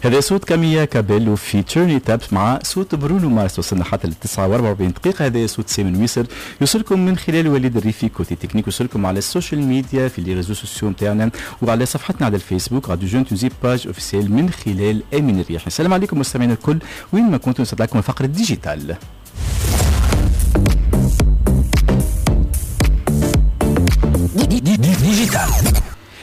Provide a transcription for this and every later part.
هذا صوت كاميا كابيلو في Turn It Up مع صوت برونو مارس. وصلنا حتى ل 49 دقيقة. هذا صوت سيمون ويسر يوصلكم من خلال وليد الريفي côté technique، يوصلكم على ال social media في les réseaux sociaux نتاعنا وعلى صفحتنا على الفيسبوك راديو Jeune Tunisie page officielle من خلال امين الرياحي. السلام عليكم مستمعينا الكل وين ما كنتم، نسعد لكم فقرة digital. digital.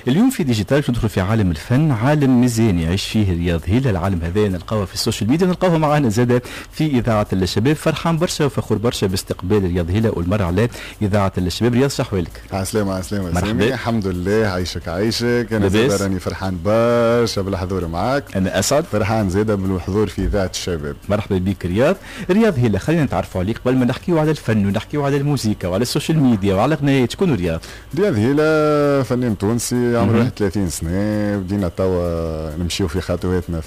اليوم في digital ندخل في عالم الفن، عالم مزيان يعيش فيه رياض هيلا. العالم هذا نلقاوه في ال social media، نلقاوه معنا زاد في اذاعة الشباب. فرحان برشا وفخور برشا باستقبال رياض هيلا اول مرة على اذاعة الشباب. رياض، شحوالك؟ عسلامة عسلامة، مرحبا. الحمد لله، عايشك عايشك. انا زاد راني فرحان برشا بالحضور معاك. انا اسعد. فرحان زاد بالحضور في اذاعة الشباب. مرحبا بك رياض. رياض هيلا، خلينا نتعرفوا عليك قبل ما نحكيو على الفن ونحكيو على الموسيقى وعلى ال social media وعلى غنايات. شكون رياض؟ رياض هيلا فنان تونسي عمره 31 سنة. بدينا توا نمشيو في خطواتنا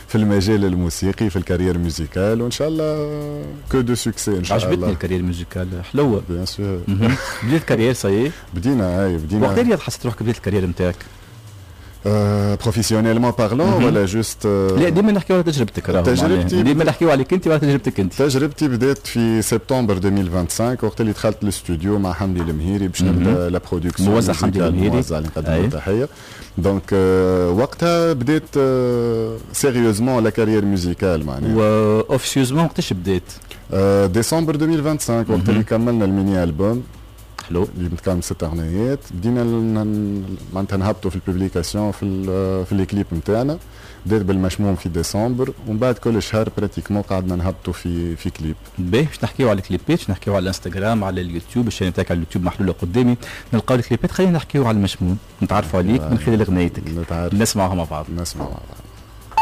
في المجال الموسيقي، في ال carrière musicale، وان شاء الله que du succès ان شاء الله. عجبتني ال carrière musicale، حلوة. bien sûr. بديت carrière ça y est؟ بدينا، اي بدينا. وقت رياض حسيت روحك بديت ال carrière نتاعك؟ professionnellement parlant ولا juste؟ لا، ديما نحكيو على تجربتك. تجربتي ديما نحكيو عليك انت وعلى تجربتك انت. تجربتي بدات في سبتمبر 2025 وقت اللي دخلت الاستوديو مع حمدي المهيري باش نبدا la production. موزع حمدي المهيري. موزع اللي نقدم له تحيه. donc وقتها بديت sérieusement la carrière musicale معناها. و officieusement وقتاش بديت؟ ديسمبر 2025 وقت اللي كملنا ال mini album. حلو. اللي متكون ست اغنيات. بدينا معناتها نهبطوا في ال publication في les clips نتاعنا. بدات بالمشموم في ديسمبر ومن بعد كل شهر pratiquement قعدنا نهبطوا في كليب. باهي، باش نحكيو على الكليبات، باش نحكيو على الانستغرام، على اليوتيوب، ال chaîne نتاعك على اليوتيوب محلولة قدامي، نلقاو الكليبات. خلينا نحكيو على المشموم، نتعرفوا عليك من خلال اغنيتك. نتعرف. نسمعوها مع بعض. نسمعوا مع بعض.